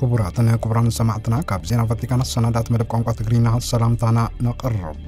ክቡራትን ክቡራን ሰማዕትና፣ ካብ ዜና ቫቲካን ኣሰናዳት መደብ ቋንቋ ትግርኛ ሰላምታና ነቕርብ።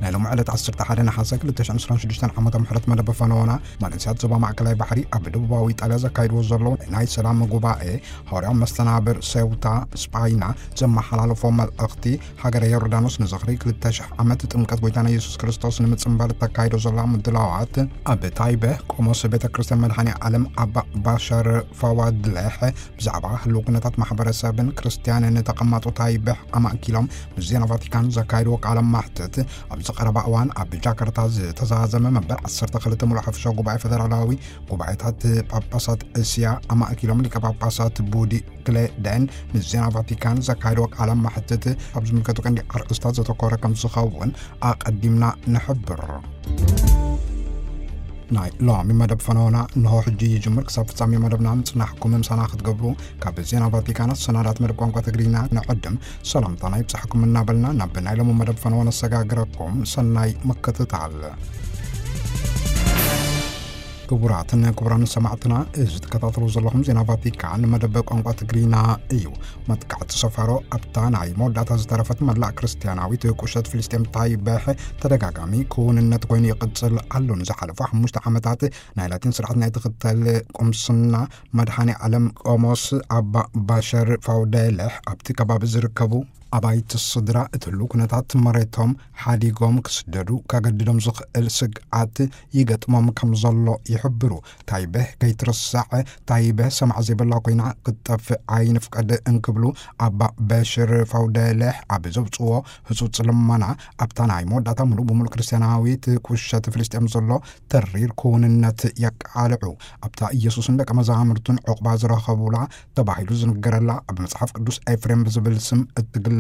ናይ ሎሚ ዕለት ዓሰርተ ሓደ ነሓሰ ክልተ ሽሕን ዕስራን ሽዱሽተን ዓመተ ምሕረት መደብ ፈነወና፣ መንእሰያት ዞባ ማእከላይ ባሕሪ ኣብ ደቡባዊ ኢጣልያ ዘካይድዎ ዘለዉ ናይ ሰላም ጉባኤ፣ ሃዋርያዊ መስተናብር ሴውታ ስጳይና ዘመሓላለፎ መልእኽቲ፣ ሃገረ ዮርዳኖስ ንዝኽሪ ክልተ ሽሕ ዓመት ጥምቀት ጎይታና የሱስ ክርስቶስ ንምጽንባል እተካይዶ ዘላ ምድላዋት፣ ኣብ ታይበ ቆሞስ ቤተ ክርስቲያን መድኃኔ ዓለም ኣባ ባሸር ፋዋድለሕ ብዛዕባ ህልው ኩነታት ማሕበረሰብን ክርስቲያንን ተቐማጦ ታይበ ኣማእኪሎም ምስ ዜና ቫቲካን ዘካይድዎ ቃለ ማሕትት፣ ኣብዚ ቀረባ እዋን ኣብ ጃካርታ ዝተዛዘመ መበል ዓሰርተ ክልተ ምሉእ ሓፈሻዊ ጉባኤ ፈደራላዊ ጉባኤታት ጳጳሳት እስያ ኣማእኪሎም ሊቀ ጳጳሳት ቡዲ ክሌደን ምስ ዜና ቫቲካን ዘካየድዎ ቃለ ማሕትት፣ ኣብ ዝምልከቱ ቀንዲ ኣርእስታት ዘተኮረ ከም ዝኸውን ኣቐዲምና ንሕብር። ናይ ሎሚ መደብ ፈነወና እንሆ ሕጂ ይጅምር። ክሳብ ፍጻሜ መደብና ምጽናሕኩም ምሳና ክትገብሩ ካብ ዜና ቫቲካን ኣሰናዳት መደብ ቋንቋ ትግርኛ ንዕድም ሰላምታና ይብጻሕኩም እናበልና፣ ናብ ናይ ሎሚ መደብ ፈነወ ነሰጋግረኩም። ሰናይ ምክትታል። ክቡራትን ክቡራን ሰማዕትና፣ እዚ ትከታተሉ ዘለኹም ዜና ቫቲካን መደብ ቋንቋ ትግርኛ እዩ። መጥቃዕቲ ሰፋሮ ኣብታ ናይ መወዳእታ ዝተረፈት መላእ ክርስትያናዊት ቁሸት ፍልስጤም ታይበሕ ተደጋጋሚ ክውንነት ኮይኑ ይቕጽል ኣሎ። ንዝሓለፉ ሓሙሽተ ዓመታት ናይ ላቲን ስርዓት ናይ ትኽተል ቁምስና መድኃኔ ዓለም ቆሞስ ኣባ ባሸር ፋውደለሕ ኣብቲ ከባቢ ዝርከቡ ኣባይቲ ስድራ እቲ ህሉው ኩነታት መሬቶም ሓዲጎም ክስደዱ ከገድዶም ዝኽእል ስግኣት ይገጥሞም ከም ዘሎ ይሕብሩ። ታይበህ ከይትርሳዕ፣ ታይበህ ሰማዕ ዘይብላ ኮይና ክትጠፍእ ኣይንፍቀድ እንክብሉ ኣባ በሽር ፋውደለህ ኣብ ዘውፅዎ ህጹጽ ልመና፣ ኣብታ ናይ መወዳእታ ምሉእ ብምሉእ ክርስትያናዊት ቁሸት ፍልስጤም ዘሎ ተሪር ክውንነት የቃልዑ። ኣብታ ኢየሱስን ደቀ መዛሙርቱን ዕቑባ ዝረኸቡላ ተባሂሉ ዝንገረላ፣ ኣብ መጽሓፍ ቅዱስ ኤፍሬም ብዝብል ስም እትግለጽ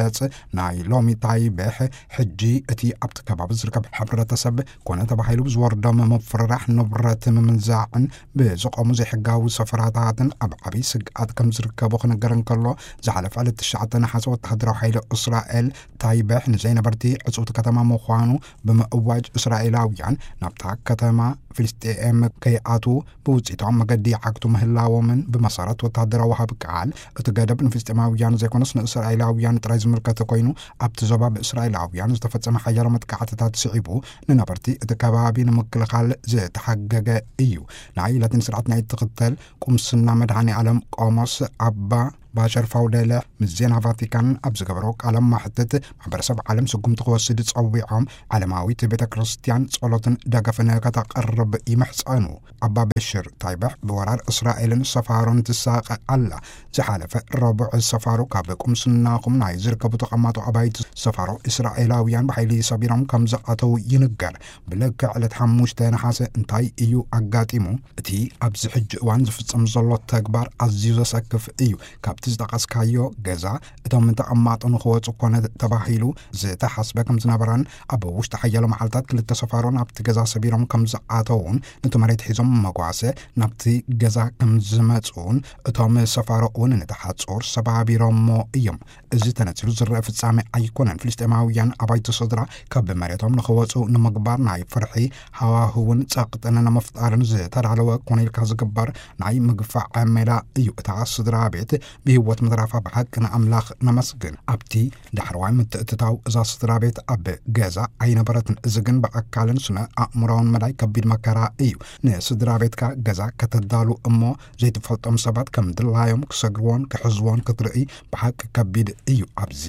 ናይ ሎሚ ታይበህ፣ ሕጂ እቲ ኣብቲ ከባቢ ዝርከብ ሕብረተሰብ ኮነ ተባሂሉ ብዝወርዶም ምፍርራሕ፣ ንብረት ምምንዛዕን ብዝቖሙ ዘይሕጋዊ ሰፈራታትን ኣብ ዓብዪ ስግኣት ከም ዝርከቡ ክንገር እንከሎ፣ ዝሓለፈ ዕለት ትሽዓተ ነሓሰ ወተሃደራዊ ሓይሊ እስራኤል ታይበህ ንዘይነበርቲ ዕጽውቲ ከተማ ምዃኑ ብምእዋጅ፣ እስራኤላውያን ናብታ ከተማ ፍልስጤም ከይኣትዉ ብውጽኢታዊ መገዲ ይዓግቱ ምህላዎምን፣ ብመሰረት ወተሃደራዊ ወሃቢ ቃል፣ እቲ ገደብ ንፍልስጤማውያን ዘይኮነስ ንእስራኤላውያን ጥራይ ዝምልከት ኮይኑ፣ ኣብቲ ዞባ ብእስራኤላውያን ዝተፈጸመ ሓያሎ መጥቃዕትታት ስዒቡ፣ ንነበርቲ እቲ ከባቢ ንምክልኻል ዝተሓገገ እዩ። ናይ ላቲን ስርዓት ናይ ትኽተል ቁምስና መድኃኔ ዓለም ቆሞስ ኣባ ባሸር ፋውደለ ምስ ዜና ቫቲካን ኣብ ዝገበሮ ቃለ ማሕትት፣ ማሕበረሰብ ዓለም ስጉምቲ ክወስድ ጸዊዖም፣ ዓለማዊት ቤተ ክርስቲያን ጸሎትን ደገፍን ከተቕርብ ይምሕጸኑ። ኣባ በሽር፣ ታይበሕ ብወራር እስራኤልን ሰፋሮን ትሳቐ ኣላ። ዝሓለፈ ረቡዕ፣ ሰፋሮ ካብ ቁምስናኹም ናይ ዝርከቡ ተቐማጦ ኣባይቲ ሰፋሮ እስራኤላውያን ብሓይሊ ሰቢሮም ከም ዝኣተዉ ይንገር። ብልክዕ ዕለት ሓሙሽተ ነሓሰ እንታይ እዩ ኣጋጢሙ? እቲ ኣብዚ ሕጂ እዋን ዝፍጸም ዘሎ ተግባር ኣዝዩ ዘሰክፍ እዩ። ካብቲ ዝጠቐስካዮ ገዛ እቶም ተቐማጦ ንኽወጹ ኮነ ተባሂሉ ዝተሓስበ ከም ዝነበረን፣ ኣብ ውሽጢ ሓያሎ መዓልታት ክልተ ሰፋሮ ናብቲ ገዛ ሰቢሮም ከም ዝኣተዉን፣ ነቲ መሬት ሒዞም መጓሰ ናብቲ ገዛ ከም ዝመጹን፣ እቶም ሰፋሮ እውን ነቲ ሓጹር ሰባቢሮሞ እዮም። እዚ ተነጺሩ ዝረአ ፍጻሜ ኣይኮነን። ፍልስጤማውያን ኣባይቲ ስድራ ካብ መሬቶም ንኽወጹ ንምግባር ናይ ፍርሒ ሃዋህውን ጸቕጥን ንምፍጣርን ዝተዳለወ ኮነ ኢልካ ዝግበር ናይ ምግፋዕ ሜላ እዩ። እታ ስድራ ቤት ብህይወት ምትራፋ ብሓቂ ንኣምላኽ ነመስግን። ኣብቲ ዳሕረዋይ ምትእትታው እዛ ስድራ ቤት ኣብ ገዛ ኣይነበረትን። እዚ ግን ብኣካልን ስነ ኣእምሮን መዳይ ከቢድ መከራ እዩ። ንስድራ ቤትካ ገዛ ከተዳሉ እሞ ዘይትፈልጦም ሰባት ከም ድላዮም ክሰግርዎን ክሕዝዎን ክትርኢ ብሓቂ ከቢድ እዩ። ኣብዚ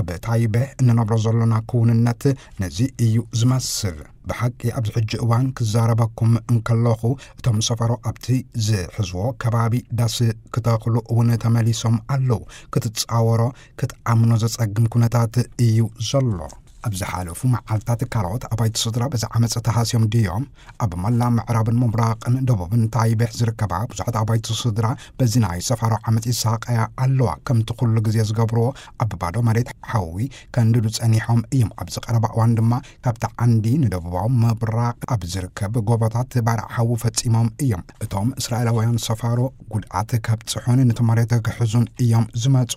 ኣብ ታይበ እንነብሮ ዘሎና ክውንነት ነዚ እዩ ዝመስል። ብሓቂ ኣብዚ ሕጂ እዋን ክዛረበኩም እንከለኹ፣ እቶም ሰፈሮ ኣብቲ ዝሕዝዎ ከባቢ ዳስ ክተኽሉ እውን ተመሊሶም ኣለዉ። ክትጻወሮ፣ ክትኣምኖ ዘጸግም ኩነታት እዩ ዘሎ። ኣብ ዝሓለፉ መዓልታት ካልኦት ኣባይቲ ስድራ በዚ ዓመጽ ተሃስዮም ድዮም? ኣብ መላእ ምዕራብን ምብራቕን ደቡብን ታይቤሕ ዝርከባ ብዙሓት ኣባይቲ ስድራ በዚ ናይ ሰፋሮ ዓመጽ ይሳቐያ ኣለዋ። ከምቲ ኩሉ ግዜ ዝገብርዎ፣ ኣብ ባዶ መሬት ሓዊ ከንድዱ ጸኒሖም እዮም። ኣብዚ ቀረባ እዋን ድማ ካብቲ ዓንዲ ንደቡባዊ ምብራቕ ኣብ ዝርከብ ጎቦታት ባርዕ ሓዊ ፈጺሞም እዮም። እቶም እስራኤላውያን ሰፋሮ ጉድኣት ከብጽሑን ነቲ መሬት ክሕዙን እዮም ዝመጹ።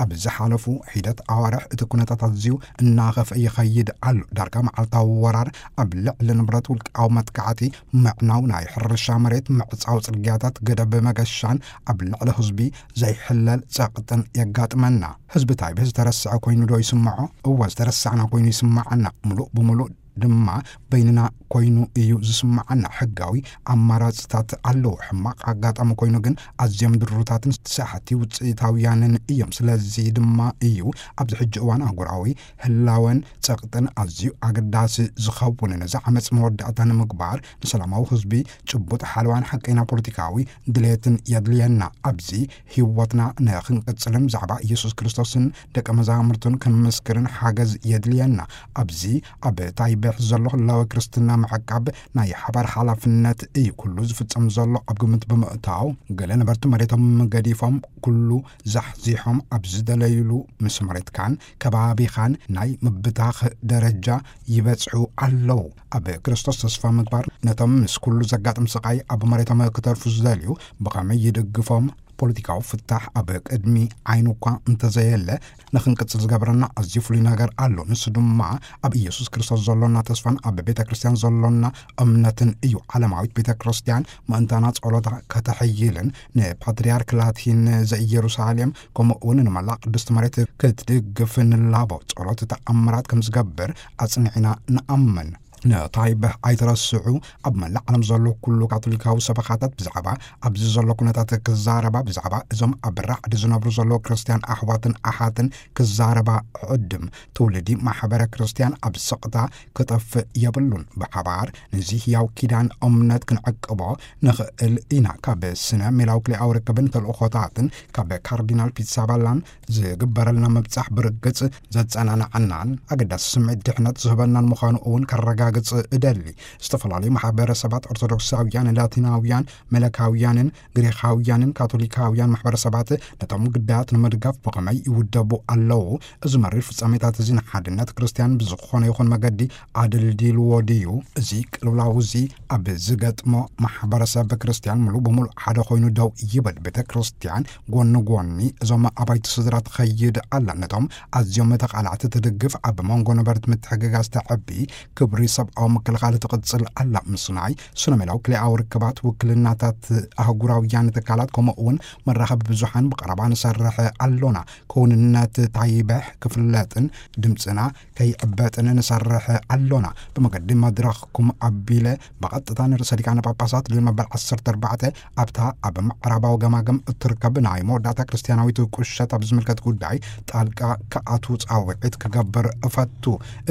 ኣብ ዝሓለፉ ሒደት ኣዋርሕ እቲ ኩነታት ኣዝዩ እናኸፍአ እዩ ይኸይድ ኣሎ። ዳርጋ መዓልታዊ ወራር፣ ኣብ ልዕሊ ንብረት፣ ውልቃዊ መጥቃዕቲ፣ ምዕናው ናይ ሕርሻ መሬት፣ ምዕጻው ጽርግያታት፣ ገደብ መገሻን ኣብ ልዕሊ ህዝቢ ዘይሕለል ጸቕጥን የጋጥመና። ህዝቢ ታይበ ዝተረስዐ ኮይኑ ዶ ይስምዖ? እወ፣ ዝተረሳዕና ኮይኑ ይስምዓና። ምሉእ ብምሉእ ድማ በይንና ኮይኑ እዩ ዝስምዓና። ሕጋዊ ኣማራጽታት ኣለዉ። ሕማቕ ኣጋጣሚ ኮይኑ ግን ኣዝዮም ድሩታትን ሰሓቲ ውጽኢታውያንን እዮም። ስለዚ ድማ እዩ ኣብዚ ሕጂ እዋን ኣህጉራዊ ህላወን ጸቕጥን ኣዝዩ ኣገዳሲ ዝኸውን። ነዚ ዓመጽ መወዳእታ ንምግባር ንሰላማዊ ህዝቢ ጭቡጥ ሓለዋን ሓቀይና ፖለቲካዊ ድሌትን የድልየና። ኣብዚ ህይወትና ንኽንቅጽልን ብዛዕባ ኢየሱስ ክርስቶስን ደቀ መዛሙርቱን ክንምስክርን ሓገዝ የድልየና። ኣብዚ ኣብ ታይበሕ ዘሎ ህላወ ክርስትና ምዕቃብ ናይ ሓባር ሓላፍነት እዩ። ኩሉ ዝፍጸም ዘሎ ኣብ ግምት ብምእታው፣ ገለ ነበርቲ መሬቶም ገዲፎም፣ ኩሉ ዛሕዚሖም ኣብ ዝደለዩሉ ምስ መሬትካን ከባቢኻን ናይ ምብታኽ ደረጃ ይበጽሑ ኣለዉ። ኣብ ክርስቶስ ተስፋ ምግባር፣ ነቶም ምስ ኩሉ ዘጋጥም ስቓይ ኣብ መሬቶም ክተርፉ ዝደልዩ ብኸመይ ይድግፎም? ፖለቲካዊ ፍታሕ ኣብ ቅድሚ ዓይኑ እኳ እንተዘየለ፣ ንኽንቅጽል ዝገብረና ኣዝዩ ፍሉይ ነገር ኣሎ። ንሱ ድማ ኣብ ኢየሱስ ክርስቶስ ዘሎና ተስፋን ኣብ ቤተ ክርስቲያን ዘሎና እምነትን እዩ። ዓለማዊት ቤተ ክርስቲያን ምእንታና ጸሎታ ከተሐይልን ንፓትርያርክ ላቲን ዘኢየሩሳሌም ከምኡ እውን ንመላእ ቅድስቲ መሬት ክትድግፍ ንላቦ። ጸሎት ተኣምራት ከም ዝገብር ኣጽኒዕና ንኣምን። ነታይበህ ኣይትረስዑ። ኣብ መላእ ዓለም ዘሎ ኩሉ ካቶሊካዊ ሰበኻታት ብዛዕባ ኣብዚ ዘሎ ኩነታት ክዛረባ፣ ብዛዕባ እዞም ኣብ ራዕዲ ዝነብሩ ዘለዉ ክርስትያን ኣሕዋትን ኣሓትን ክዛረባ ዕድም። ትውልዲ ማሕበረ ክርስትያን ኣብ ስቕታ ክጠፍእ የብሉን። ብሓባር ነዚ ህያው ኪዳን እምነት ክንዕቅቦ ንኽእል ኢና። ካብ ስነ ሜላዊ ክልኤዊ ርክብን ተልእኾታትን ካብ ካርዲናል ፒትሳባላን ዝግበረልና ምብጻሕ ብርግጽ ዘጸናንዓናን ኣገዳሲ ስምዒት ድሕነት ዝህበናን ምዃኑ እውን ከረጋግጽ እደሊ። ዝተፈላለዩ ማሕበረሰባት ኦርቶዶክሳውያን፣ ላቲናውያን፣ መለካውያንን ግሪኻውያንን ካቶሊካውያን ማሕበረሰባት ነቶም ግዳያት ንምድጋፍ ብኸመይ ይውደቡ ኣለዉ? እዚ መሪር ፍጻሜታት እዚ ንሓድነት ክርስትያን ብዝኾነ ይኹን መገዲ ኣደልዲልዎ ድዩ? እዚ ቅልውላው እዚ ኣብ ዝገጥሞ ማሕበረሰብ ክርስትያን ምሉእ ብምሉእ ሓደ ኮይኑ ደው ይብል። ቤተ ክርስትያን ጎኒ ጎኒ እዞም ኣባይቲ ስድራ ትኸይድ ኣላ። ነቶም ኣዝዮም ተቓላዕቲ ትድግፍ፣ ኣብ መንጎ ነበርቲ ምትሕግጋዝ ተዕቢ፣ ክብሪ ሰብኣዊ ምክልኻል ትቕጽል ኣላ። ምስናይ ስነ ሜላዊ ክልኤኣዊ ርክባት፣ ውክልናታት ኣህጉራውያን ትካላት፣ ከምኡ እውን መራኸቢ ብዙሓን ብቐረባ ንሰርሕ ኣሎና። ክውንነት ታይበሕ ክፍለጥን ድምጽና ከይዕበጥን ንሰርሕ ኣሎና። ብመገዲ መድረኽኩም ኣቢለ ብቐጥታ ንርእሰ ሊቃነ ጳጳሳት ሊዮን መበል ዓሰርተ ኣርባዕተ ኣብታ ኣብ ምዕራባዊ ገማግም እትርከብ ናይ መወዳእታ ክርስትያናዊት ቁሸት ኣብ ዝምልከት ጉዳይ ጣልቃ ክኣቱ ጻውዒት ክገብር እፈቱ።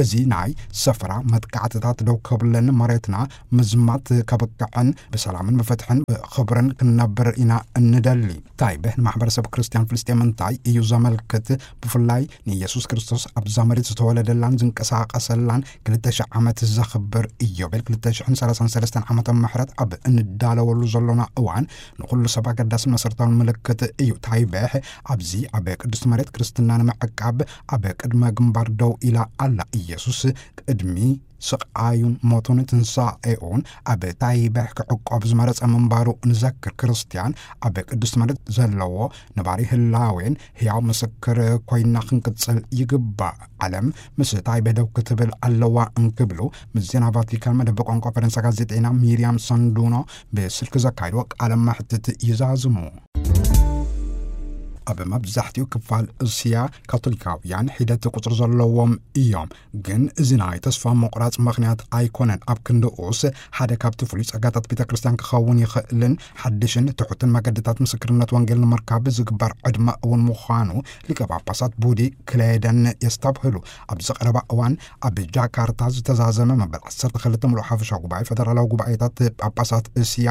እዚ ናይ ሰፈራ መጥቃዕትታት ደው ከብለን፣ መሬትና ምዝማት ከብቅዕን ብሰላምን ብፍትሕን ብኽብርን ክንነብር ኢና እንደሊ። ታይበህ ንማሕበረሰብ ክርስትያን ፍልስጤም እንታይ እዩ ዘመልክት? ብፍላይ ንኢየሱስ ክርስቶስ ኣብዛ መሬት ዝተወለደላን ዝንቀሳቐሰላን ክልተ ሽሕ ዓመት ዘኽብር ኢዮቤል ክልተ ሽሕን ሰላሳን ሰለስተን ዓመተ ምሕረት ኣብ እንዳለወሉ ዘሎና እዋን፣ ንኹሉ ሰብ ኣገዳስን መሰረታውን ምልክት እዩ። ታይበህ ኣብዚ ኣብ ቅድስቲ መሬት ክርስትና ንምዕቃብ ኣብ ቅድመ ግንባር ደው ኢላ ኣላ። ኢየሱስ ቅድሚ ስቓዩን ሞቱን ትንሳኤኡን ኣብ ታይበህ ክዕቆብ ዝመረጸ ምንባሩ ንዘክር። ክርስትያን ኣብ ቅድስቲ መሬት ዘለዎ ነባሪ ህላዌን ህያው ምስክር ኮይና ክንቅጽል ይግባእ። ዓለም ምስ ታይበህ ደው ክትብል ኣለዋ እንክብሉ ምስ ዜና ቫቲካን መደብ ቋንቋ ፈረንሳ ጋዜጠኛ ሚርያም ሳንዱኖ ብስልኪ ዘካይድዎ ቃለ መሕትት ይዛዝሙ። ኣብ መብዛሕትኡ ክፋል እስያ ካቶሊካውያን ሒደት ቁጽሪ ዘለዎም እዮም። ግን እዚ ናይ ተስፋ ምቑራጽ ምኽንያት ኣይኮነን። ኣብ ክንድኡስ ሓደ ካብቲ ፍሉይ ጸጋታት ቤተ ክርስቲያን ክኸውን ይኽእልን ሓድሽን ትሑትን መገድታት ምስክርነት ወንጌል ንምርካብ ዝግበር ዕድመ እውን ምዃኑ ሊቀ ጳጳሳት ቡዲ ክሌደን የስተብህሉ። ኣብዚ ቀረባ እዋን ኣብ ጃካርታ ዝተዛዘመ መበል ዓሰርተ ክልተ ምሉእ ሓፈሻዊ ጉባኤ ፈደራላዊ ጉባኤታት ጳጳሳት እስያ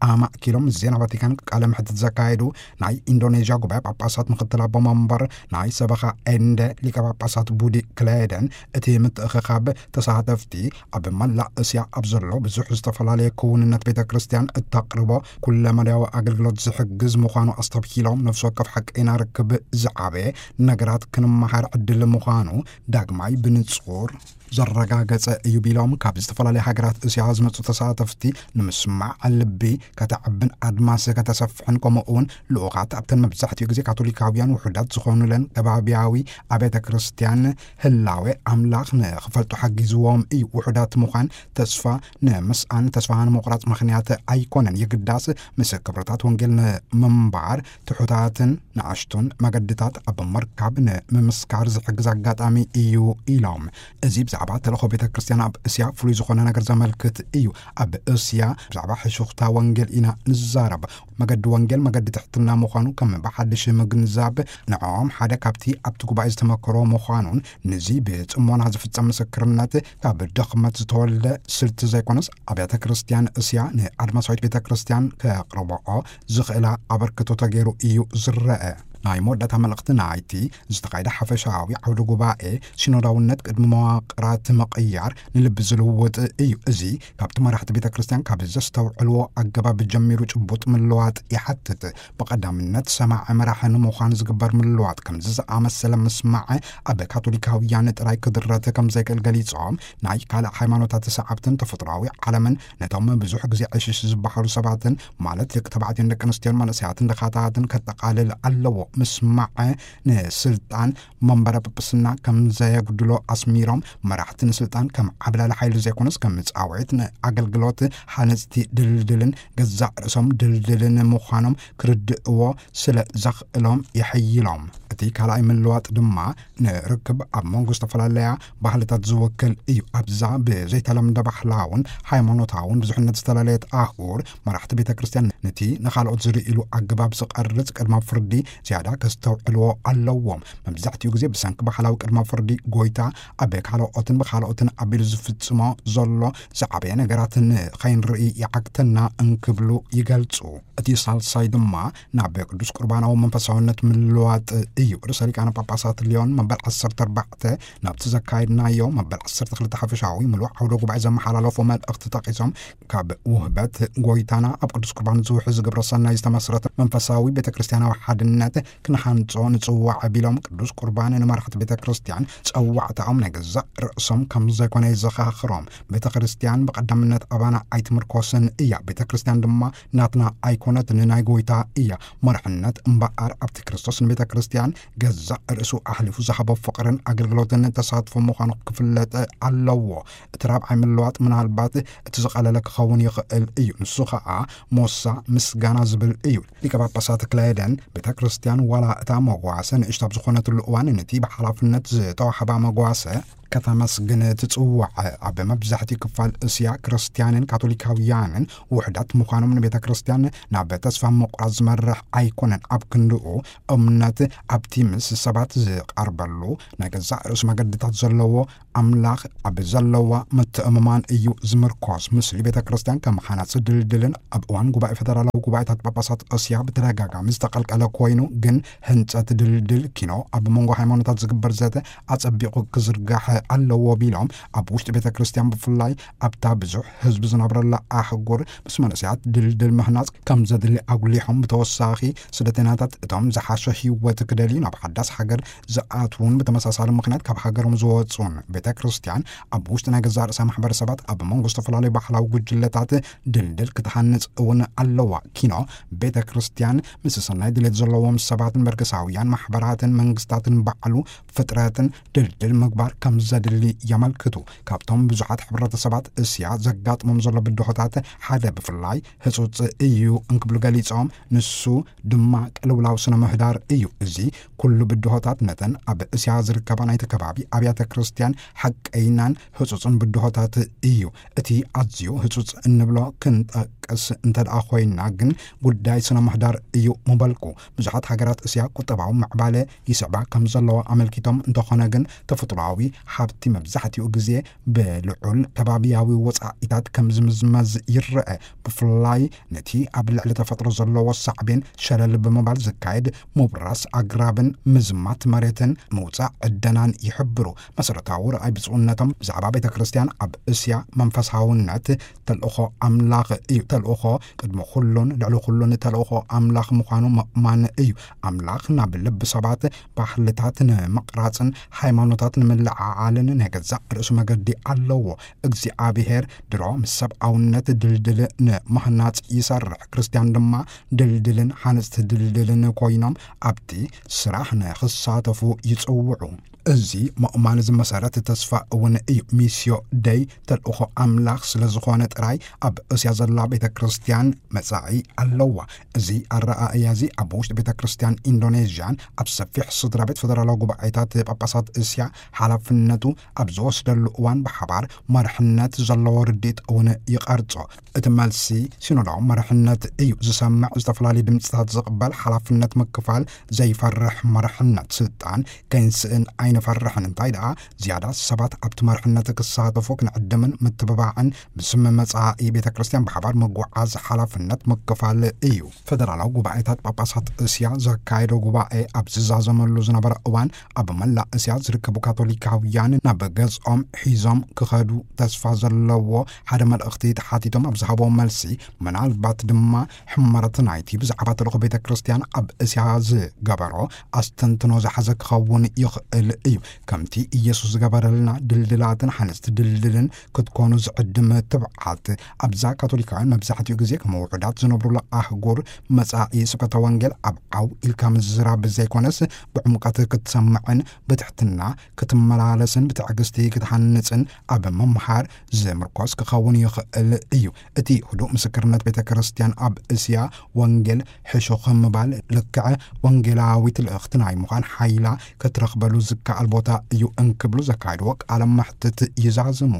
ኣማእኪሎም ምስ ዜና ቫቲካን ቃለ ምሕትት ዘካየዱ ናይ ኢንዶኔዥያ ጉባኤ ጳጳሳት ምክትል ኣቦ መንበር ናይ ሰበኻ ኤንደ ሊቀ ጳጳሳት ቡዲ ክሌደን፣ እቲ ምትእኽኻብ ተሳተፍቲ ኣብ መላእ እስያ ኣብ ዘሎ ብዙሕ ዝተፈላለየ ክውንነት ቤተ ክርስቲያን እተቕርቦ ኩለመዳያዊ ኣገልግሎት ዝሕግዝ ምዃኑ ኣስተብሂሎም፣ ነፍሲ ወከፍ ሓቀይና ርክብ ዝዓበየ ነገራት ክንመሃር ዕድል ምዃኑ ዳግማይ ብንጹር ዘረጋገጸ እዩ ቢሎም፣ ካብ ዝተፈላለያ ሃገራት እስያ ዝመጹ ተሳተፍቲ ንምስማዕ ልቢ ከተዕብን ኣድማስ ከተሰፍሕን፣ ከምኡ እውን ልኡኻት ኣብተን መብዛሕትኡ ግዜ ካቶሊካውያን ውሑዳት ዝኾኑለን ከባቢያዊ ኣብያተ ክርስቲያን ህላዌ ኣምላኽ ንኽፈልጡ ሓጊዝዎም እዩ። ውሑዳት ምዃን ተስፋ ንምስኣን፣ ተስፋ ንምቑራጽ ምኽንያት ኣይኮነን። የግዳስ ምስ ክብርታት ወንጌል ንምንባር ትሑታትን ንኣሽቱን መገድታት ኣብ ምርካብ ንምምስካር ዝሕግዝ ኣጋጣሚ እዩ ኢሎም። እዚ ብዛዕባ ተልእኾ ቤተ ክርስቲያን ኣብ እስያ ፍሉይ ዝኾነ ነገር ዘመልክት እዩ። ኣብ እስያ ብዛዕባ ሕሹኽታ ወንጌል ኢና ንዛረብ። መገዲ ወንጌል መገዲ ትሕትና ምዃኑ ከም ብሓድሽ ምግንዛብ ንዕኦም ሓደ ካብቲ ኣብቲ ጉባኤ ዝተመክሮ ምዃኑን ንዚ ብጽሞና ዝፍጸም ምስክርነት ካብ ድኽመት ዝተወልደ ስልቲ ዘይኮነስ ኣብያተ ክርስቲያን እስያ ንኣድማሳዊት ቤተ ክርስቲያን ከቕርብኦ ዝኽእላ ኣበርክቶ ተገይሩ እዩ ዝረአ። ናይ መወዳእታ መልእኽቲ ናይቲ ዝተኻየደ ሓፈሻዊ ዓውደ ጉባኤ ሲኖዳውነት ቅድሚ መዋቕራት ምቕያር ንልቢ ዝልውጥ እዩ። እዚ ካብቲ መራሕቲ ቤተ ክርስቲያን ካብ ዘስተውዕልዎ ኣገባብ ጀሚሩ ጭቡጥ ምልዋጥ ይሓትት። ብቐዳምነት ሰማዒ መራሒ ንምዃን ዝግበር ምልዋጥ ከምዚ ዝኣመሰለ ምስማዕ ኣብ ካቶሊካውያን ጥራይ ክድረት ከም ዘይክእል ገሊጾም፣ ናይ ካልእ ሃይማኖታት ሰዓብትን ተፈጥሮኣዊ ዓለምን ነቶም ብዙሕ ግዜ ዕሽሽ ዝበሃሉ ሰባትን ማለት ደቂ ተባዕትዮን ደቂ ኣንስትዮን መንእሰያትን ድኻታትን ከጠቓልል ኣለዎ። ምስማዕ ንስልጣን መንበረ ጵጵስና ከም ዘየጉድሎ ኣስሚሮም፣ መራሕቲ ንስልጣን ከም ዓብላሊ ሓይሊ ዘይኮነስ ከም ጻውዒት ንኣገልግሎት ሃነጽቲ ድልድልን ገዛእ ርእሶም ድልድልን ምዃኖም ክርድእዎ ስለ ዘኽእሎም የሐይሎም። እቲ ካልኣይ ምልዋጥ ድማ ንርክብ ኣብ መንጎ ዝተፈላለያ ባህልታት ዝውክል እዩ። ኣብዛ ብዘይተለምደ ባህላውን ሃይማኖታውን ብዙሕነት ዝተላለየት ኣህጉር፣ መራሕቲ ቤተ ክርስቲያን ነቲ ንኻልኦት ዝርእይሉ ኣገባብ ዝቐርጽ ቅድመ ፍርዲ ዝያዳ ከስተውዕልዎ ኣለዎም። መብዛሕትኡ ግዜ ብሰንኪ ባህላዊ ቅድመ ፍርዲ ጎይታ ኣብ ካልኦትን ብኻልኦትን ኣቢሉ ዝፍጽሞ ዘሎ ዝዓበየ ነገራት ንኸይንርኢ ይዓግተና እንክብሉ ይገልጹ። እቲ ሳልሳይ ድማ ናብ ቅዱስ ቁርባናዊ መንፈሳውነት ምልዋጥ እዩ። ርእሰ ሊቃነ ጳጳሳት ሊዮን መበል ዓሰርተ ኣርባዕተ ናብቲ ዘካየድናዮ መበል ዓሰርተ ክልተ ሓፈሻዊ ምሉእ ዓውደ ጉባኤ ዘመሓላለፎ መልእኽቲ ጠቒሶም፣ ካብ ውህበት ጎይታና ኣብ ቅዱስ ቁርባን ዝውሕዝ ግብረ ሰናይ ዝተመስረተ መንፈሳዊ ቤተ ክርስቲያናዊ ሓድነት ክንሃንጾ ንጽዋዕ ቢሎም፣ ቅዱስ ቁርባን ንመራሕቲ ቤተ ክርስቲያን ጸዋዕታኦም ናይ ገዛእ ርእሶም ከም ዘይኮነ የዘኻኽሮም። ቤተ ክርስቲያን ብቐዳምነት ኣባና ኣይትምርኮስን እያ። ቤተ ክርስቲያን ድማ ናትና ኣይኮነትን፣ ናይ ጎይታ እያ። መርሕነት እምበኣር ኣብቲ ክርስቶስ ንቤተ ክርስቲያን ገዛእ ርእሱ ኣሕሊፉ ዝሃቦ ፍቕርን ኣገልግሎትን ተሳትፎ ምዃኑ ክፍለጥ ኣለዎ። እቲ ራብዓይ ምልዋጥ ምናልባት እቲ ዝቐለለ ክኸውን ይኽእል እዩ። ንሱ ኸኣ ሞሳ ምስጋና ዝብል እዩ። ሊቀ ጳጳሳት ክላየደን ቤተ ክርስቲያን ዋላ እታ መጓሰ ንእሽቶ ኣብ ዝኾነትሉ እዋን ነቲ ብሓላፍነት ዝተዋሕባ መጓሰ ከተመስግን ትጽዋዕ። ኣብ መብዛሕትኡ ክፋል እስያ ክርስቲያንን ካቶሊካውያንን ውሕዳት ምዃኖም ንቤተ ክርስቲያን ናብ ተስፋ ምቑራጽ ዝመርሕ ኣይኮነን። ኣብ ክንድኡ እምነት ኣብቲ ምስ ሰባት ዝቐርበሉ ናይ ገዛእ ርእሱ መገድታት ዘለዎ ኣምላኽ ኣብ ዘለዋ ምትእምማን እዩ ዝምርኮስ። ምስሊ ቤተ ክርስቲያን ከም ሓናጺ ድልድልን ኣብ እዋን ጉባኤ ፈደራላዊ ጉባኤታት ጳጳሳት እስያ ብተደጋጋሚ ዝተቐልቀለ ኮይኑ፣ ግን ህንጸት ድልድል ኪኖ ኣብ መንጎ ሃይማኖታት ዝግበር ዘተ ኣጸቢቑ ክዝርጋሕ ኣለዎ ቢሎም፣ ኣብ ውሽጢ ቤተ ክርስቲያን ብፍላይ ኣብታ ብዙሕ ህዝቢ ዝነብረላ ኣህጉር ምስ መንእሰያት ድልድል ምህናጽ ከም ዘድሊ ኣጉሊሖም፣ ብተወሳኺ ስደተኛታት እቶም ዝሓሸ ህይወት ክደልዩ ናብ ሓዳስ ሃገር ዝኣትዉን ብተመሳሳሊ ምኽንያት ካብ ሃገሮም ዝወጹን፣ ቤተ ክርስቲያን ኣብ ውሽጢ ናይ ገዛእ ርእሳ ማሕበረሰባት ኣብ መንጎ ዝተፈላለዩ ባህላዊ ጉጅለታት ድልድል ክትሃንጽ እውን ኣለዋ። ኪኖ ቤተ ክርስቲያን ምስ ሰናይ ድሌት ዘለዎም ሰባትን በርገሳውያን ማሕበራትን መንግስታትን ባዕሉ ፍጥረትን ድልድል ምግባር ከም ዘድሊ የመልክቱ። ካብቶም ብዙሓት ሕብረተሰባት እስያ ዘጋጥሞም ዘሎ ብድሆታት ሓደ ብፍላይ ህጹጽ እዩ እንክብሉ ገሊጾም፣ ንሱ ድማ ቅልውላው ስነ ምህዳር እዩ። እዚ ኩሉ ብድሆታት ነተን ኣብ እስያ ዝርከባ ናይቲ ከባቢ ኣብያተ ክርስቲያን ሓቀይናን ህጹጽን ብድሆታት እዩ። እቲ ኣዝዩ ህጹጽ እንብሎ ክንጠቅስ እንተ ደኣ ኮይንና ግን ጉዳይ ስነ ምህዳር እዩ ምበልኩ። ብዙሓት ሃገራት እስያ ቁጠባዊ ምዕባለ ይስዕባ ከም ዘለዋ ኣመልኪቶም፣ እንተኾነ ግን ተፈጥሮኣዊ ሃብቲ መብዛሕትኡ ግዜ ብልዑል ከባቢያዊ ወጻኢታት ከም ዝምዝመዝ ይረአ። ብፍላይ ነቲ ኣብ ልዕሊ ተፈጥሮ ዘለዎ ሳዕቤን ሸለል ብምባል ዝካየድ ምብራስ ኣግራብን ምዝማት መሬትን ምውጻእ ዕደናን ይሕብሩ። መሰረታዊ ረኣይ ብፁዕነቶም ብዛዕባ ቤተ ክርስቲያን ኣብ እስያ መንፈሳውነት ተልእኾ ኣምላኽ እዩ። ተልእኾ ቅድሚ ኩሉን ልዕሊ ኩሉን ተልእኾ ኣምላኽ ምዃኑ ምእማን እዩ። ኣምላኽ ናብ ልቢ ሰባት ባህልታት ንምቕራጽን ሃይማኖታት ንምልዕዓልን ናይ ገዛእ ርእሱ መገዲ ኣለዎ። እግዚኣብሔር ድሮ ምስ ሰብኣውነት ድልድል ንምህናጽ ይሰርሕ። ክርስትያን ድማ ድልድልን ሓነጽቲ ድልድልን ኮይኖም ኣብቲ ስራሕ ንኽሳተፉ ይጽውዑ። እዚ ምእማን እዚ መሰረት ተስፋ እውን እዩ። ሚስዮ ደይ ተልእኾ ኣምላኽ ስለ ዝኾነ ጥራይ ኣብ እስያ ዘላ ቤተ ክርስትያን መጻኢ ኣለዋ። እዚ ኣረኣእያ እዚ ኣብ ውሽጢ ቤተ ክርስትያን ኢንዶኔዥያን ኣብ ሰፊሕ ስድራ ቤት ፈደራላዊ ጉባኤታት ጳጳሳት እስያ ሓላፍነቱ ኣብ ዝወስደሉ እዋን ብሓባር መርሕነት ዘለዎ ርድኢት እውን ይቐርጾ። እቲ መልሲ ሲኖዳዊ መርሕነት እዩ። ዝሰምዕ፣ ዝተፈላለዩ ድምፅታት ዝቕበል፣ ሓላፍነት ምክፋል፣ ዘይፈርሕ መርሕነት። ስልጣን ከይንስእን ኣይንፈርሕን። እንታይ ደኣ ዝያዳ ሰባት ኣብቲ መርሕነት ክሳተፉ ክንዕድምን ምትብባዕን ብስም መጻኢ ቤተ ክርስቲያን ብሓባር ምጉዓዝ ሓላፍነት ምክፋል እዩ። ፈደራላዊ ጉባኤታት ጳጳሳት እስያ ዘካየዶ ጉባኤ ኣብ ዝዛዘመሉ ዝነበረ እዋን ኣብ መላእ እስያ ዝርከቡ ካቶሊካውያን ናብ ገዝኦም ሒዞም ክኸዱ ተስፋ ዘለዎ ሓደ መልእኽቲ ተሓቲቶም ኣብ ዝሃቦ መልሲ፣ ምናልባት ድማ ሕመረት ናይቲ ብዛዕባ ተልእኾ ቤተ ክርስቲያን ኣብ እስያ ዝገበሮ ኣስተንትኖ ዝሓዘ ክኸውን ይኽእል እዩ። ከምቲ ኢየሱስ ዝገበረልና ድልድላትን ሓነፅቲ ድልድልን ክትኮኑ ዝዕድም ትብዓት ኣብዛ ካቶሊካውያን መብዛሕትኡ ግዜ ከም ውሑዳት ዝነብሩላ ኣህጉር መጻኢ ስብከተ ወንጌል ኣብ ዓው ኢልካ ምዝራብ ዘይኮነስ ብዕምቀት ክትሰምዕን ብትሕትና ክትመላለስን ብትዕግስቲ ክትሃንጽን ኣብ ምምሃር ዝምርኮስ ክኸውን ይኽእል እዩ። እቲ ህዱእ ምስክርነት ቤተ ክርስቲያን ኣብ እስያ ወንጌል ሕሹኽ ምባል ልክዕ ወንጌላዊት ልእኽቲ ናይ ምዃን ሓይላ ክትረኽበሉ ዝከኣል ቦታ እዩ እንክብሉ ዘካየድዎ ቃለ መሕትት ይዛዝሙ።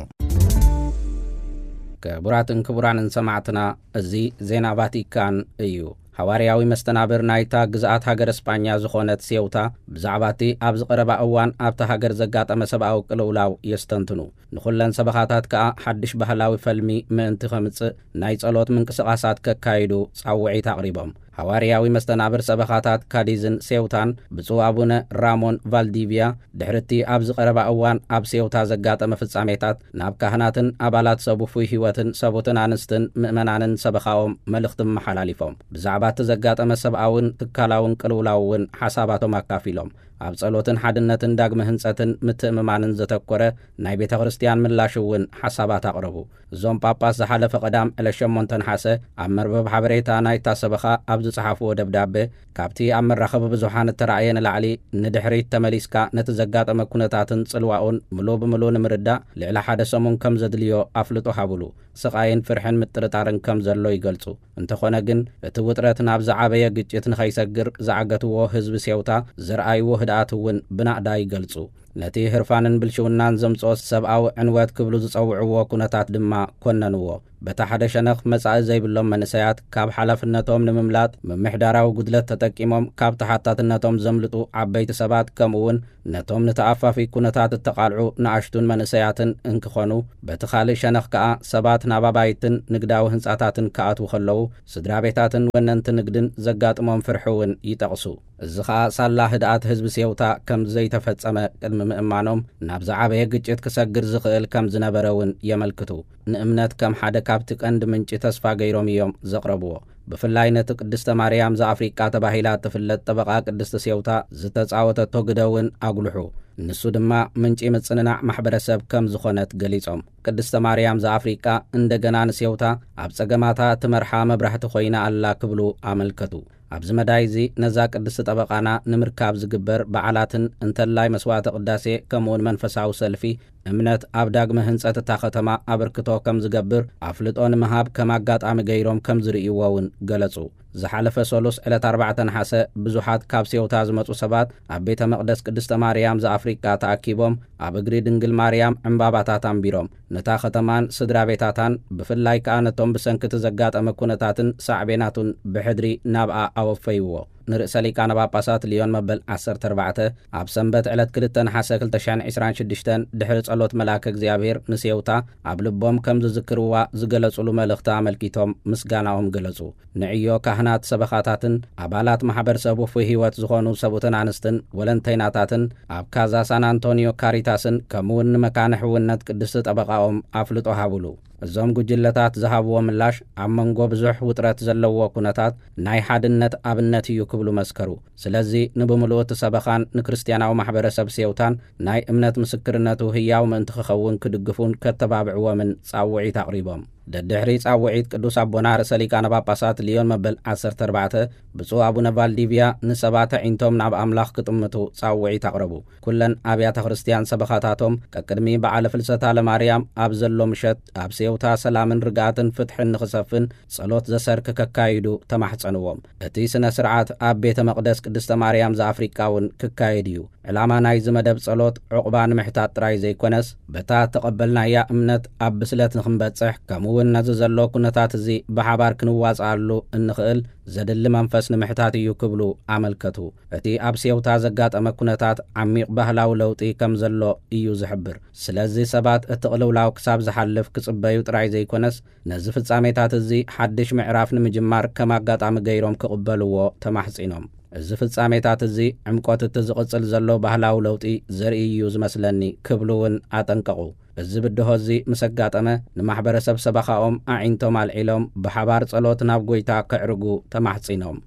ክቡራትን ክቡራንን ሰማዕትና፣ እዚ ዜና ቫቲካን እዩ። ሃዋርያዊ መስተናብር ናይታ ግዝኣት ሃገር እስጳኛ ዝኾነት ሴውታ ብዛዕባ እቲ ኣብዚ ቀረባ እዋን ኣብታ ሃገር ዘጋጠመ ሰብኣዊ ቅልውላው የስተንትኑ። ንኹለን ሰበኻታት ከኣ ሓድሽ ባህላዊ ፈልሚ ምእንቲ ኸምጽእ ናይ ጸሎት ምንቅስቓሳት ከካይዱ ጻውዒት ኣቕሪቦም። ሃዋርያዊ መስተናብር ሰበኻታት ካዲዝን ሴውታን ብፁዕ ኣቡነ ራሞን ቫልዲቪያ ድሕሪ እቲ ኣብዚ ቀረባ እዋን ኣብ ሴውታ ዘጋጠመ ፍጻሜታት ናብ ካህናትን ኣባላት ሰብ ውፉይ ህይወትን ሰቡትን ኣንስትን ምእመናንን ሰበኻኦም መልእኽቲ ኣመሓላሊፎም። ብዛዕባ እቲ ዘጋጠመ ሰብኣውን ትካላውን ቅልውላው እውን ሓሳባቶም ኣካፊሎም። ኣብ ጸሎትን ሓድነትን ዳግመ ህንጸትን ምትእምማንን ዘተኮረ ናይ ቤተ ክርስቲያን ምላሽ እውን ሓሳባት ኣቕረቡ። እዞም ጳጳስ ዝሓለፈ ቀዳም ዕለት ሸሞንተ ነሓሰ ኣብ መርበብ ሓበሬታ ናይታ ሰበኻ ኣብ ዝጸሓፍዎ ደብዳበ፣ ካብቲ ኣብ መራኸቢ ብዙሓን እተራእየ ንላዕሊ ንድሕሪት ተመሊስካ ነቲ ዘጋጠመ ኩነታትን ጽልዋኡን ምሉእ ብምሉእ ንምርዳእ ልዕሊ ሓደ ሰሙን ከም ዘድልዮ ኣፍልጦ ሃቡሉ። ስቓይን ፍርሕን ምጥርጣርን ከም ዘሎ ይገልጹ። እንተኾነ ግን፣ እቲ ውጥረት ናብ ዝዓበየ ግጭት ንኸይሰግር ዝዓገትዎ ህዝቢ ሴውታ ዘርኣይዎ ህድኣት እውን ብናእዳ ይገልጹ። ነቲ ህርፋንን ብልሽውናን ዘምጽኦ ሰብኣዊ ዕንወት ክብሉ ዝጸውዕዎ ኩነታት ድማ ኮነንዎ። በታ ሓደ ሸነኽ መጻኢ ዘይብሎም መንእሰያት ካብ ሓላፍነቶም ንምምላጥ ምምሕዳራዊ ጉድለት ተጠቂሞም ካብ ተሓታትነቶም ዘምልጡ ዓበይቲ ሰባት ከምኡ እውን ነቶም ንተኣፋፊ ኩነታት እተቓልዑ ንኣሽቱን መንእሰያትን እንክኾኑ፣ በቲ ካልእ ሸነኽ ከኣ ሰባት ናብ ኣባይትን ንግዳዊ ህንጻታትን ክኣትዉ ከለዉ፣ ስድራ ቤታትን ወነንቲ ንግድን ዘጋጥሞም ፍርሒ እውን ይጠቕሱ። እዚ ኸኣ ሳላ ህድኣት ህዝቢ ሴውታ ከም ዘይተፈጸመ ቅድሚ ምእማኖም፣ ናብ ዝዓበየ ግጭት ክሰግር ዝኽእል ከም ዝነበረ እውን የመልክቱ። ንእምነት ከም ሓደ ካብቲ ቀንዲ ምንጪ ተስፋ ገይሮም እዮም ዘቕረብዎ። ብፍላይ ነቲ ቅድስተ ማርያም ዘኣፍሪቃ ተባሂላ እትፍለጥ ጠበቓ ቅድስቲ ሴውታ ዝተጻወተቶ ግደ እውን ኣጉልሑ። ንሱ ድማ ምንጪ ምጽንናዕ ማሕበረሰብ ከም ዝኾነት ገሊጾም። ቅድስተ ማርያም ዘኣፍሪቃ እንደገና ንሴውታ ኣብ ጸገማታ እትመርሓ መብራህቲ ኮይና ኣላ ክብሉ ኣመልከቱ። ኣብዚ መዳይ እዚ ነዛ ቅድስቲ ጠበቓና ንምርካብ ዝግበር በዓላትን እንተላይ መስዋዕተ ቅዳሴ ከምኡውን መንፈሳዊ ሰልፊ እምነት ኣብ ዳግመ ህንጸት እታ ከተማ ኣበርክቶ ከም ዝገብር ኣፍልጦ ንምሃብ ከም ኣጋጣሚ ገይሮም ከም ዝርእይዎ እውን ገለጹ። ዝሓለፈ ሰሉስ ዕለት ኣርባዕተ ነሓሰ ብዙሓት ካብ ሴውታ ዝመጹ ሰባት ኣብ ቤተ መቕደስ ቅድስተ ማርያም ዘኣፍሪቃ ተኣኪቦም ኣብ እግሪ ድንግል ማርያም ዕምባባታት ኣንቢሮም ነታ ከተማን ስድራ ቤታታን ብፍላይ ከኣ ነቶም ብሰንኪ እቲ ዘጋጠመ ኩነታትን ሳዕቤናቱን ብሕድሪ ናብኣ ኣወፈይዎ። ንርእሰ ሊቃነ ጳጳሳት ልዮን መበል ዓሰርተ ኣርባዕተ ኣብ ሰንበት ዕለት ክልተ ነሓሰ ክልተ ሽሕን ዕስራን ሽዱሽተን ድሕሪ ጸሎት መልኣከ እግዚኣብሔር ንሴውታ ኣብ ልቦም ከም ዝዝክርዋ ዝገለጹሉ መልእኽቲ ኣመልኪቶም ምስጋናኦም ገለጹ። ንዕዮ ካህናት ሰበኻታትን ኣባላት ማሕበር ሰብ ውፉይ ህይወት ዝኾኑ ሰብኡትን ኣንስትን ወለንተይናታትን ኣብ ካዛ ሳን ኣንቶኒዮ ካሪታስን ከምኡውን ንመካነ ሕውነት ቅድስቲ ጠበቓኦም ኣፍልጦ ሃቡሉ። እዞም ጉጅለታት ዝሃብዎ ምላሽ ኣብ መንጎ ብዙሕ ውጥረት ዘለዎ ኩነታት ናይ ሓድነት ኣብነት እዩ ክብሉ መስከሩ። ስለዚ ንብምሉኡ እቲ ሰበኻን ንክርስትያናዊ ማሕበረሰብ ሴውታን ናይ እምነት ምስክርነቱ ህያው ምእንቲ ክኸውን ክድግፉን ከተባብዕዎምን ጻውዒት ኣቕሪቦም። ደድሕሪ ጻውዒት ቅዱስ ኣቦና ርእሰ ሊቃነ ጳጳሳት ሊዮን መበል ዓሰርተ ኣርባዕተ ብፁዕ ኣቡነ ቫልዲቪያ ንሰባት ኣዒንቶም ናብ ኣምላኽ ክጥምቱ ጻውዒት ኣቕረቡ። ኩለን ኣብያተ ክርስቲያን ሰበኻታቶም ቀቅድሚ በዓለ ፍልሰታ ለማርያም ኣብ ዘሎ ምሸት ኣብ ሴውታ ሰላምን ርግኣትን ፍትሕን ንኽሰፍን ጸሎት ዘሰርክ ከካይዱ ተማሕጸንዎም። እቲ ስነ ስርዓት ኣብ ቤተ መቕደስ ቅድስተ ማርያም ዘኣፍሪቃ እውን ክካየድ እዩ። ዕላማ ናይዚ መደብ ጸሎት ዕቑባ ንምሕታት ጥራይ ዘይኮነስ፣ በታ እተቐበልናያ እምነት ኣብ ብስለት ንኽንበጽሕ፣ ከምኡ እውን ነዚ ዘሎ ኩነታት እዚ ብሓባር ክንዋጽኣሉ እንኽእል ዘድሊ መንፈስ ንምሕታት እዩ ክብሉ ኣመልከቱ። እቲ ኣብ ሴውታ ዘጋጠመ ኩነታት ዓሚቕ ባህላዊ ለውጢ ከም ዘሎ እዩ ዝሕብር። ስለዚ ሰባት እቲ ቅልውላው ክሳብ ዝሓልፍ ክጽበዩ ጥራይ ዘይኮነስ፣ ነዚ ፍጻሜታት እዚ ሓድሽ ምዕራፍ ንምጅማር ከም ኣጋጣሚ ገይሮም ክቕበልዎ ተማሕጺኖም። እዚ ፍጻሜታት እዚ ዕምቆት እቲ ዝቕጽል ዘሎ ባህላዊ ለውጢ ዘርኢ እዩ ዝመስለኒ ክብሉ እውን ኣጠንቀቑ። እዚ ብድሆ እዚ ምስ ኣጋጠመ ንማሕበረሰብ ሰበኻኦም ኣዒንቶም ኣልዒሎም ብሓባር ጸሎት ናብ ጎይታ ከዕርጉ ተማሕጺኖም።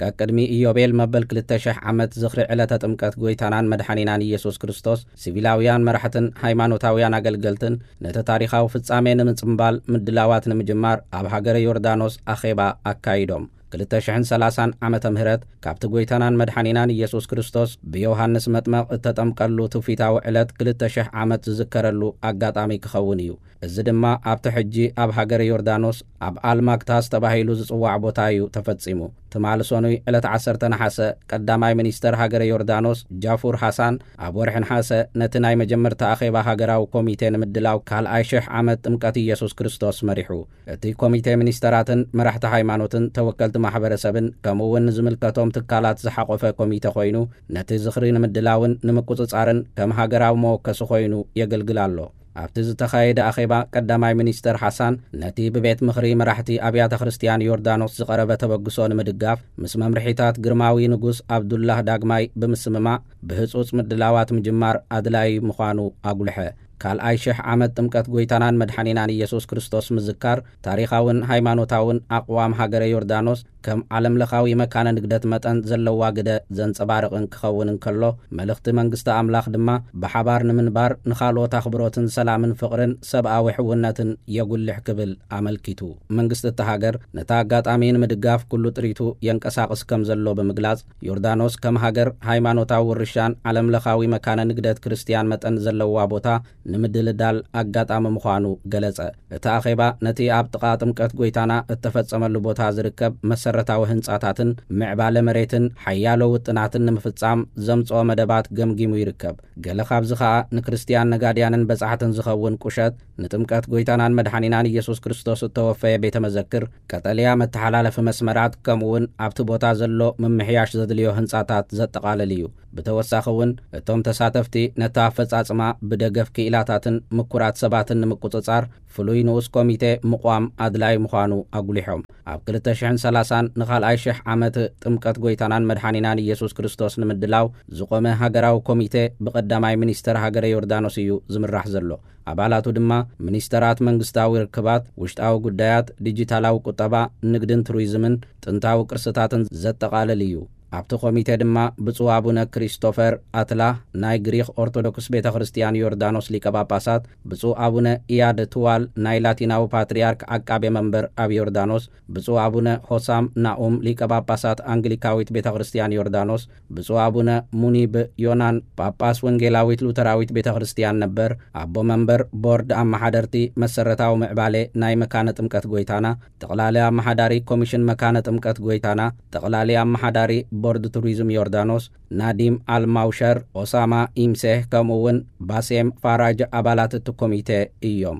ቀቅድሚ ኢዮቤል መበል ክልተ ሽሕ ዓመት ዝኽሪ ዕለተ ጥምቀት ጎይታናን መድሓኒናን ኢየሱስ ክርስቶስ፣ ሲቪላውያን መራሕትን ሃይማኖታውያን ኣገልገልትን ነቲ ታሪኻዊ ፍጻሜ ንምጽምባል ምድላዋት ንምጅማር ኣብ ሃገረ ዮርዳኖስ ኣኼባ ኣካይዶም። ክልተ ሽሕን ሰላሳን ዓመተ ምህረት ካብቲ ጎይታናን መድሓኒናን ኢየሱስ ክርስቶስ ብዮሃንስ መጥመቕ እተጠምቀሉ ትውፊታዊ ዕለት ክልተ ሽሕ ዓመት ዝዝከረሉ ኣጋጣሚ ክኸውን እዩ። እዚ ድማ ኣብቲ ሕጂ ኣብ ሃገረ ዮርዳኖስ ኣብ ኣልማክታስ ተባሂሉ ዝጽዋዕ ቦታ እዩ ተፈጺሙ። ትማሊ ሰኑይ ዕለት ዓሰርተ ነሓሰ ቀዳማይ ሚኒስተር ሃገረ ዮርዳኖስ ጃፉር ሃሳን ኣብ ወርሒ ነሓሰ ነቲ ናይ መጀመርታ ኣኼባ ሃገራዊ ኮሚቴ ንምድላው ካልኣይ ሽሕ ዓመት ጥምቀት ኢየሱስ ክርስቶስ መሪሑ። እቲ ኮሚቴ ሚኒስተራትን መራሕቲ ሃይማኖትን ተወከልቲ ማሕበረሰብን ከምኡ እውን ንዝምልከቶም ትካላት ዝሓቖፈ ኮሚቴ ኮይኑ ነቲ ዝኽሪ ንምድላውን ንምቁጽጻርን ከም ሃገራዊ መወከሲ ኮይኑ የገልግል ኣሎ። ኣብቲ ዝተኻየደ ኣኼባ ቀዳማይ ሚኒስተር ሓሳን ነቲ ብቤት ምኽሪ መራሕቲ ኣብያተ ክርስቲያን ዮርዳኖስ ዝቐረበ ተበግሶ ንምድጋፍ ምስ መምርሒታት ግርማዊ ንጉስ ኣብዱላህ ዳግማይ ብምስምማዕ ብህጹጽ ምድላዋት ምጅማር ኣድላዪ ምዃኑ ኣጉልሐ። ካልኣይ ሽሕ ዓመት ጥምቀት ጎይታናን መድሓኒናን ኢየሱስ ክርስቶስ ምዝካር ታሪኻውን ሃይማኖታውን ኣቕዋም ሃገረ ዮርዳኖስ ከም ዓለምለኻዊ መካነ ንግደት መጠን ዘለዋ ግደ ዘንጸባርቕን ክኸውን እንከሎ፣ መልእኽቲ መንግስቲ ኣምላኽ ድማ ብሓባር ንምንባር ንኻልኦት ኣኽብሮትን ሰላምን ፍቕርን ሰብኣዊ ሕውነትን የጉልሕ ክብል ኣመልኪቱ። መንግስቲ እታ ሃገር ነታ ኣጋጣሚ ንምድጋፍ ኩሉ ጥሪቱ የንቀሳቕስ ከም ዘሎ ብምግላጽ፣ ዮርዳኖስ ከም ሃገር ሃይማኖታዊ ውርሻን ዓለምለኻዊ መካነ ንግደት ክርስትያን መጠን ዘለዋ ቦታ ንምድልዳል ኣጋጣሚ ምዃኑ ገለጸ። እቲ ኣኼባ ነቲ ኣብ ጥቓ ጥምቀት ጎይታና እተፈጸመሉ ቦታ ዝርከብ መሰረታዊ ህንጻታትን ምዕባለ መሬትን ሓያሎ ውጥናትን ንምፍጻም ዘምጽኦ መደባት ገምጊሙ ይርከብ። ገለ ካብዚ ኸኣ ንክርስትያን ነጋድያንን በጻሕትን ዝኸውን ቁሸት፣ ንጥምቀት ጎይታናን መድሓኒናን ኢየሱስ ክርስቶስ እተወፈየ ቤተ መዘክር፣ ቀጠልያ መተሓላለፊ መስመራት፣ ከምኡውን ኣብቲ ቦታ ዘሎ ምምሕያሽ ዘድልዮ ህንጻታት ዘጠቓልል እዩ። ብተወሳኺ እውን እቶም ተሳተፍቲ ነቲ ኣፈጻጽማ ብደገፍ ክኢላታትን ምኩራት ሰባትን ንምቁጽጻር ፍሉይ ንኡስ ኮሚቴ ምቋም ኣድላዪ ምዃኑ ኣጉሊሖም። ኣብ ክልተ ሽሕን ሰላሳን ንኻልኣይ ሽሕ ዓመት ጥምቀት ጎይታናን መድሓኒናን ኢየሱስ ክርስቶስ ንምድላው ዝቖመ ሃገራዊ ኮሚቴ ብቐዳማይ ሚኒስተር ሃገረ ዮርዳኖስ እዩ ዝምራሕ ዘሎ። ኣባላቱ ድማ ሚኒስተራት መንግስታዊ ርክባት፣ ውሽጣዊ ጉዳያት፣ ዲጂታላዊ ቁጠባ፣ ንግድን ቱሪዝምን ጥንታዊ ቅርስታትን ዘጠቓልል እዩ። ኣብቲ ኮሚቴ ድማ ብፁዕ ኣቡነ ክሪስቶፈር ኣትላ ናይ ግሪኽ ኦርቶዶክስ ቤተ ክርስቲያን ዮርዳኖስ ሊቀ ጳጳሳት፣ ብፁዕ ኣቡነ ኢያድ ትዋል ናይ ላቲናዊ ፓትርያርክ ዓቃቤ መንበር ኣብ ዮርዳኖስ፣ ብፁዕ ኣቡነ ሆሳም ናኡም ሊቀ ጳጳሳት ኣንግሊካዊት ቤተ ክርስቲያን ዮርዳኖስ፣ ብፁዕ ኣቡነ ሙኒብ ዮናን ጳጳስ ወንጌላዊት ሉተራዊት ቤተ ክርስቲያን ነበር፣ ኣቦ መንበር ቦርድ ኣመሓደርቲ መሰረታዊ ምዕባሌ ናይ መካነ ጥምቀት ጎይታና፣ ጠቕላሊ ኣመሓዳሪ ኮሚሽን መካነ ጥምቀት ጎይታና፣ ጠቕላሊ ኣመሓዳሪ ቦርድ ቱሪዝም ዮርዳኖስ ናዲም ኣልማውሸር፣ ኦሳማ ኢምሴህ፣ ከምኡ እውን ባሴም ፋራጅ ኣባላት እቲ ኮሚቴ እዮም።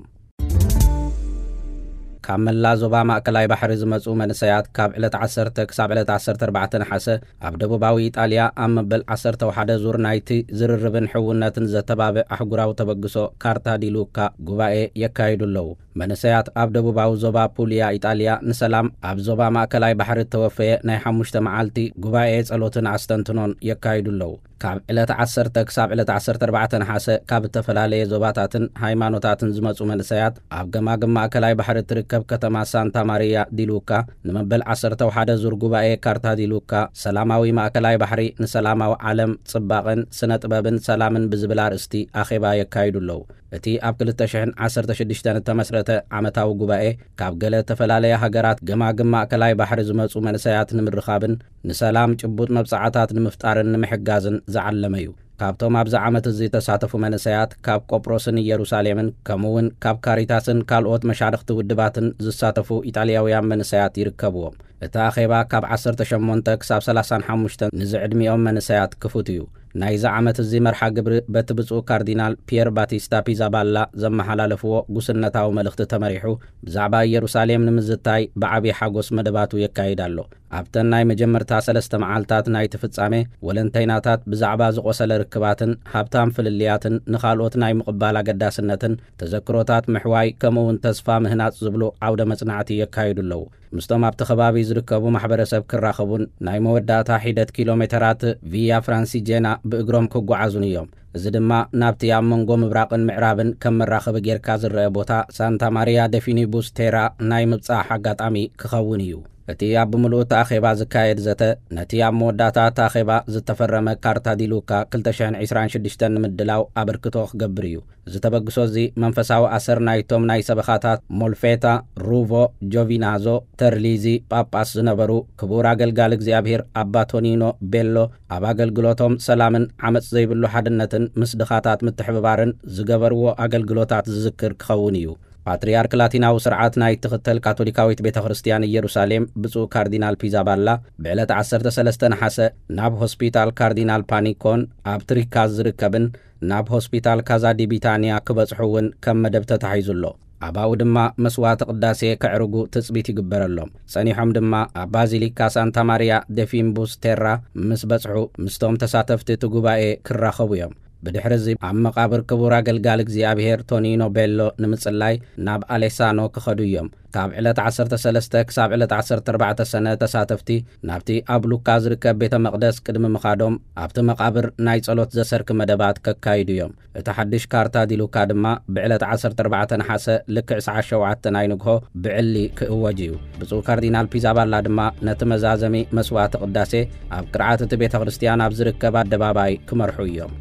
ካብ መላ ዞባ ማእከላይ ባሕሪ ዝመጹ መንሰያት ካብ ዕለት ዓሰርተ ክሳብ ዕለት ዓሰርተ ኣርባዕተ ነሓሰ ኣብ ደቡባዊ ኢጣልያ ኣብ መበል ዓሰርተ ሓደ ዙር ናይቲ ዝርርብን ሕውነትን ዘተባብዕ ኣህጉራዊ ተበግሶ ካርታ ዲ ሉካ ጉባኤ የካይዱ ኣለዉ። መንእሰያት ኣብ ደቡባዊ ዞባ ፑልያ ኢጣልያ ንሰላም ኣብ ዞባ ማእከላይ ባሕሪ እተወፈየ ናይ ሓሙሽተ መዓልቲ ጉባኤ ጸሎትን ኣስተንትኖን የካይዱ ኣለዉ። ካብ ዕለት ዓሰርተ ክሳብ ዕለት ዓሰርተ ኣርባዕተ ነሓሰ ካብ እተፈላለየ ዞባታትን ሃይማኖታትን ዝመጹ መንእሰያት ኣብ ገማግም ማእከላይ ባሕሪ እትርከብ ከተማ ሳንታ ማሪያ ዲሉካ ንመበል ዓሰርተ ሓደ ዙር ጉባኤ ካርታ ዲሉካ ሰላማዊ ማእከላይ ባሕሪ ንሰላማዊ ዓለም ጽባቐን ስነ ጥበብን ሰላምን ብዝብል ኣርእስቲ ኣኼባ የካይዱ ኣለዉ። እቲ ኣብ ክልተ ሽሕን ዓሰርተ ሽዱሽተን እተመስረተ ዓመታዊ ጉባኤ ካብ ገለ እተፈላለያ ሃገራት ገማግም ማእከላይ ባሕሪ ዝመጹ መንእሰያት ንምርኻብን ንሰላም ጭቡጥ መብጽዓታት ንምፍጣርን ንምሕጋዝን ዝዓለመ እዩ። ካብቶም ኣብዚ ዓመት እዚ ዝተሳተፉ መንእሰያት ካብ ቆጵሮስን ኢየሩሳሌምን ከምኡ እውን ካብ ካሪታስን ካልኦት መሻርኽቲ ውድባትን ዝሳተፉ ኢጣልያውያን መንእሰያት ይርከብዎም። እቲ ኣኼባ ካብ ዓሰርተ ሸሞንተ ክሳብ ሰላሳን ሓሙሽተን ንዝዕድሚኦም መንእሰያት ክፉት እዩ። ናይዚ ዓመት እዚ መርሓ ግብሪ በቲ ብፁዕ ካርዲናል ፒየር ባቲስታ ፒዛባላ ዘመሓላለፍዎ ጉስነታዊ መልእኽቲ ተመሪሑ ብዛዕባ ኢየሩሳሌም ንምዝታይ ብዓብዪ ሓጎስ መደባቱ የካይድ ኣሎ። ኣብተን ናይ መጀመርታ ሰለስተ መዓልታት ናይቲ ፍጻሜ ወለንተይናታት ብዛዕባ ዝቖሰለ ርክባትን ሃብታም ፍልልያትን ንኻልኦት ናይ ምቕባል ኣገዳስነትን ተዘክሮታት ምሕዋይ ከምኡ እውን ተስፋ ምህናጽ ዝብሉ ዓውደ መጽናዕቲ የካይዱ ኣለዉ። ምስቶም ኣብቲ ከባቢ ዝርከቡ ማሕበረሰብ ክራኸቡን ናይ መወዳእታ ሒደት ኪሎ ሜተራት ቪያ ፍራንሲጄና ብእግሮም ክጓዓዙን እዮም። እዚ ድማ ናብቲ ኣብ መንጎ ምብራቕን ምዕራብን ከም መራኸቢ ጌርካ ዝረአ ቦታ ሳንታ ማሪያ ደፊኒቡስ ቴራ ናይ ምብጻሕ ኣጋጣሚ ክኸውን እዩ። እቲ ኣብ ብምልኡ እቲ ኣኼባ ዝካየድ ዘተ ነቲ ኣብ መወዳእታ እቲ ኣኼባ ዝተፈረመ ካርታ ዲሉካ ክልተ ሽሕን ዕስራን ሽዱሽተን ንምድላው ኣበርክቶ ክገብር እዩ። እዚ ተበግሶ እዚ መንፈሳዊ ኣሰር ናይቶም ናይ ሰበኻታት ሞልፌታ፣ ሩቮ፣ ጆቪናዞ፣ ተርሊዚ ጳጳስ ዝነበሩ ክቡር ኣገልጋሊ እግዚኣብሔር ኣባ ቶኒኖ ቤሎ ኣብ ኣገልግሎቶም ሰላምን ዓመጽ ዘይብሉ ሓድነትን ምስ ድኻታት ምትሕብባርን ዝገበርዎ ኣገልግሎታት ዝዝክር ክኸውን እዩ። ፓትርያርክ ላቲናዊ ስርዓት ናይ ትኽተል ካቶሊካዊት ቤተ ክርስቲያን ኢየሩሳሌም ብፁዕ ካርዲናል ፒዛባላ ብዕለት ዓሰርተ ሰለስተ ነሓሰ ናብ ሆስፒታል ካርዲናል ፓኒኮን ኣብ ትሪካዝ ዝርከብን ናብ ሆስፒታል ካዛ ዲ ቢታንያ ክበጽሑ እውን ከም መደብ ተታሒዙ ኣሎ። ኣባኡ ድማ መስዋዕተ ቅዳሴ ከዕርጉ ትጽቢት ይግበረሎም። ጸኒሖም ድማ ኣብ ባዚሊካ ሳንታ ማሪያ ደፊምቡስ ቴራ ምስ በጽሑ ምስቶም ተሳተፍቲ እቲ ጉባኤ ክራኸቡ እዮም። ብድሕሪ እዚ ኣብ መቓብር ክቡር ኣገልጋሊ እግዚኣብሔር ቶኒኖ ቤሎ ንምጽላይ ናብ ኣሌሳኖ ክኸዱ እዮም። ካብ ዕለት ዓሰርተ ሰለስተ ክሳብ ዕለት ዓሰርተ ኣርባዕተ ሰነ ተሳተፍቲ ናብቲ ኣብ ሉካ ዝርከብ ቤተ መቕደስ ቅድሚ ምኻዶም ኣብቲ መቓብር ናይ ጸሎት ዘሰርኪ መደባት ከካይዱ እዮም። እቲ ሓድሽ ካርታ ዲሉካ ድማ ብዕለት ዓሰርተ ኣርባዕተ ነሓሰ ልክዕ ሰዓት ሸውዓተ ናይ ንግሆ ብዕሊ ክእወጅ እዩ። ብፁዕ ካርዲናል ፒዛባላ ድማ ነቲ መዛዘሚ መስዋዕቲ ቅዳሴ ኣብ ቅርዓት እቲ ቤተ ክርስቲያን ኣብ ዝርከብ ኣደባባይ ክመርሑ እዮም።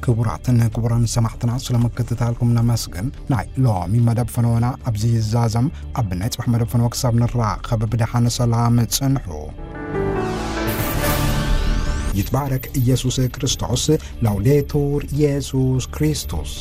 ክቡራትን ክቡራን ሰማዕትና ስለምክትታልኩም ነመስግን። ናይ ሎሚ መደብ ፈነወና ኣብዚ ይዛዘም። ኣብ ናይ ጽባሕ መደብ ፈነወ ክሳብ ንራኸብ ብደሓን ሰላም ጽንሑ። ይትባረክ ኢየሱስ ክርስቶስ። ላውዴቱር ኢየሱስ ክርስቶስ።